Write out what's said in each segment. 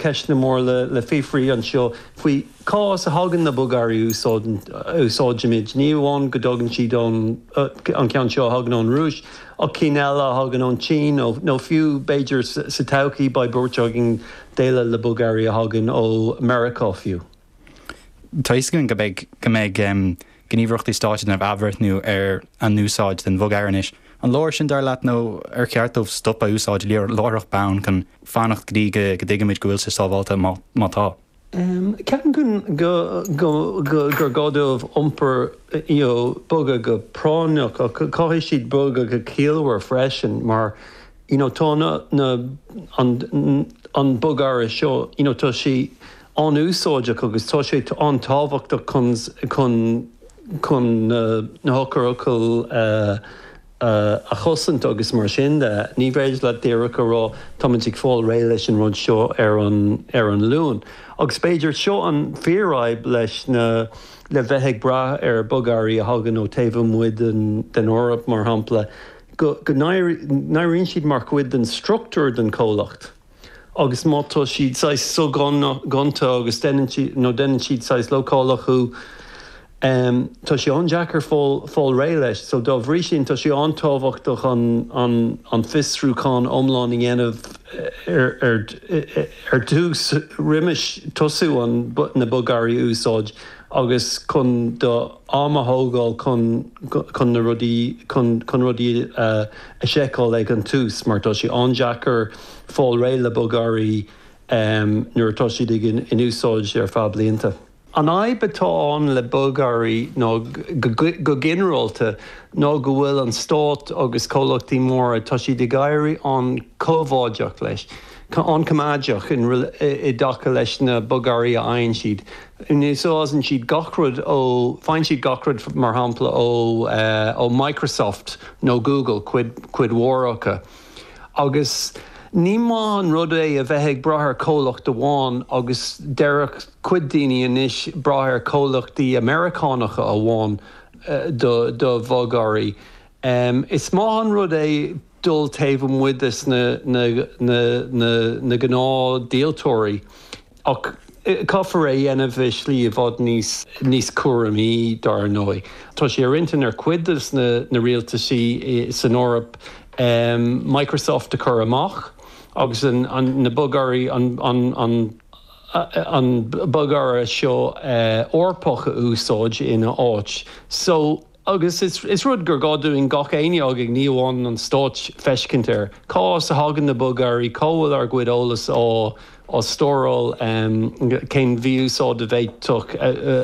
ceisteanna móra le fiafraí anseo faoi cá as a thagann na bogearraí a úsáidimid. Ní amháin go dtagann siad ón, an ceann seo a thagann ón Rúis, ach cinn eile a thagann ón tSín nó fiú b'fhéidir sa todhchaí beidh buairt againn déileáil le bogearraí a thagann ó Meiriceá fiú. Tá a fhios againn go mbeidh go mbeidh gníomhaireachtaí stáit ag déanamh athbhreithniú ar a n-úsáid den bhogearra anois. An leor sin dar leat nó ar cheart dóibh stop a úsáid láithreach bonn chun fanacht go dtí go dtuigimid go bhfuil sé sábháilte má tá? Ceapaim go gur gá dóibh iompar you know bogadh go práinneach ach caithfidh siad bogadh go ciallmhar freisin mar you know tá na na an an bogearra seo you know tá sé an-úsáideach agus tá sé an-tábhachtach chun chun chun na na heochairfhocail a a chosaint agus mar sin de. Ní féidir leat díreach a rá táimid ag fáil réidh leis an rud seo ar an ar an Luan. Agus b'fhéidir seo an fíorfhadhb leis na le bheith ag brath ar bogearraí a thagann ó taobh amuigh den den Eoraip mar shampla, go go n-éiríonn siad mar chuid den struchtúr den chomhlacht. Agus má tá siad saghas soghonta agus déanann siad nó déanann siad saghas leochaileach thú, tá sé an-deacair fáil réidh leis. So dá bhrí sin tá sé an-tábhachtach an an an fiosrúchán iomlán a dhéanamh ar ar ar dtús roimis tosú an na bogearraí a úsáid agus chun do am a thógáil chun chun na rudaí chun chun rudaí a a sheiceáil ag an tús mar tá sé an-deacair fáil réidh le bogearraí nuair atá siad ag in úsáid ar feadh blianta. An fhadhb atá ann le bogearraí ná go ginearálta ná go bhfuil an stát agus comhlachtaí móra, tá siad ag éirí an-choimeádach leis, an-choimeádach i dtaca leis na bogearraí a fhaigheann siad. Úsáideann siad gach rud ó, faigheann siad gach rud mar shampla ó ó Microsoft nó Google, cuid cuid mhór acu. Agus ní maith an rud é a bheith ag brath ar chomhlacht amháin agus déarfadh cuid daoine anois brath ar chomhlachtaí Meiriceánacha amháin do do bhogearraí. Is maith an rud é dul taobh amuigh des na na na na na gnáthdhíoltóirí. Ach caithfear é a dhéanamh i slí i bhfad níos níos cúramaí, dar ndóigh. Tá sé ar intinn ar chuid de na rialtaisí san Eoraip Microsoft a chur amach agus an na bogearraí an an an bogearra seo Eorpach a úsáid ina áit. So. Agus is rud gur gá dúinn gach éinne againn, ní amháin an stáit, feiscint air. Cá as a thagann na bogearraí? Cá bhfuil ár gcuid eolas á stóráil? Cén mhí-úsáid a bhféadfadh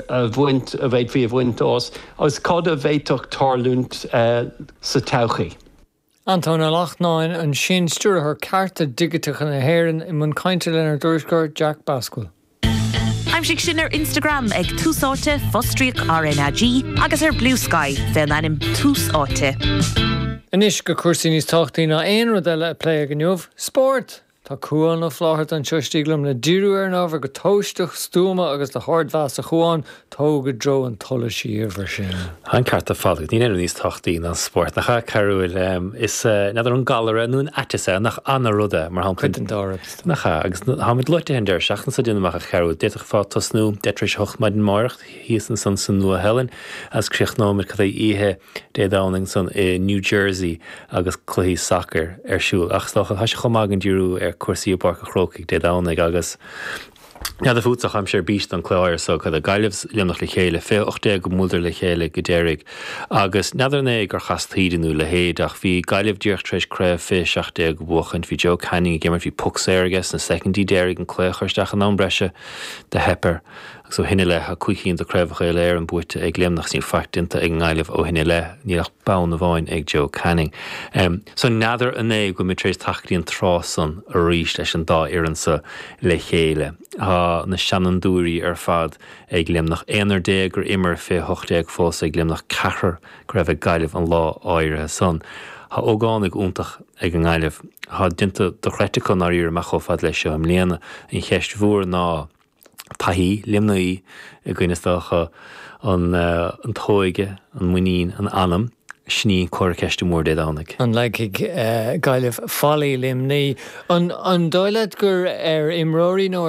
a bhaint, a bhféadfaí a bhaint as? Agus cad a bhféadfadh tarlúint sa todhchaí? Antóin Ó Lachtnáin ansin, Stiúrthóir Cearta Digiteacha na hÉireann, i mbun cainte lenár dtuairisceoir Jack Basquill. Aimsigh sinn ar Instagram ag Tús Áite, fostríoc RnaG, agus ar Bluesky fén ainm Tús Áite. Anois go cúrsaí níos tábhachtaí ná aon rud eile a pléadh inniu, spórt! Tá Cúán Ó Flátharta anseo istigh liom le díriú ar an ábhar go tomhaisteach, stuama agus le hardmheas. A Chúáin, tóg i dtreo an tsolais í uimhir sin. Tá an ceart ar fad agat. Níl aon rud níos tábhachtaí ná an spórt. Nach ea, Cearúil? Is, n'fheadar an galar é nó an aiteas é, nach ana-rud é, mar shampla. Cuid den dá rud, is dócha. Nach ea? Agus táimid loitithe an deireadh seachtaine seo, déanaim amach, a Chearúil. D'fhéadfá tosnú deich tar éis a hocht maidin amáireach thíos ansan sa Nua-Shéalainn agus críochnóimid cad é oíche Dé Domhnaigh ansan i New Jersey agus cluichí sacair ar siúl. Ach is dócha, tá sé chomh maith againn díriú ar cúrsaí i bPáirc an Chrócaigh Dé Domhnaigh agus n'fheadar fútsa ach táimse ar bís don cluiche áirithe so, cad é, Gaillimh 's Luimneach le chéile, 2018 go mbuaileadar le chéile go deiridh agus n'fheadar an é gur chas taoide nó a leithéid ach bhí Gaillimh díreach tar éis craobh 2017 a bhuachaint, bhí Joe Canning ag imirt, bhí poc saor aige sna soicindí deiridh an cluiche a chur isteach in am breise, do theip air. Agus ó shin i leith, tá cúig cinn de Chraobhacha Uile-Éireann buaite ag Luimneach is níl faic déanta ag an nGaillimh ó shin i leith. Níl ach bonn amháin ag Joe Canning. So n'fheadar an é go bhfuil muid tar éis teacht go dtí an tráth san arís leis an dá fhoireann so le chéile. Tá na seanfhondúirí ar fad ag Luimneach. Aonar gur imir 2018 fós ag Luimneach, ceathrar go raibh ag Gaillimh an lá áirithe san. Tá ógánaigh iontach ag an nGaillimh. Tá déanta dochreidte acu i ndáiríre amach chomh fada leis seo i mbliana. An cheist mhór ná. taithí Luimnigh i gcoinne is dócha an an t-óige, an muinín, an anam, sin í an comhartha ceiste mór Dé Domhnaigh. An leagfaidh Gaillimh fallaí Luimnigh? An dóigh leat gur ar imreoirí nó.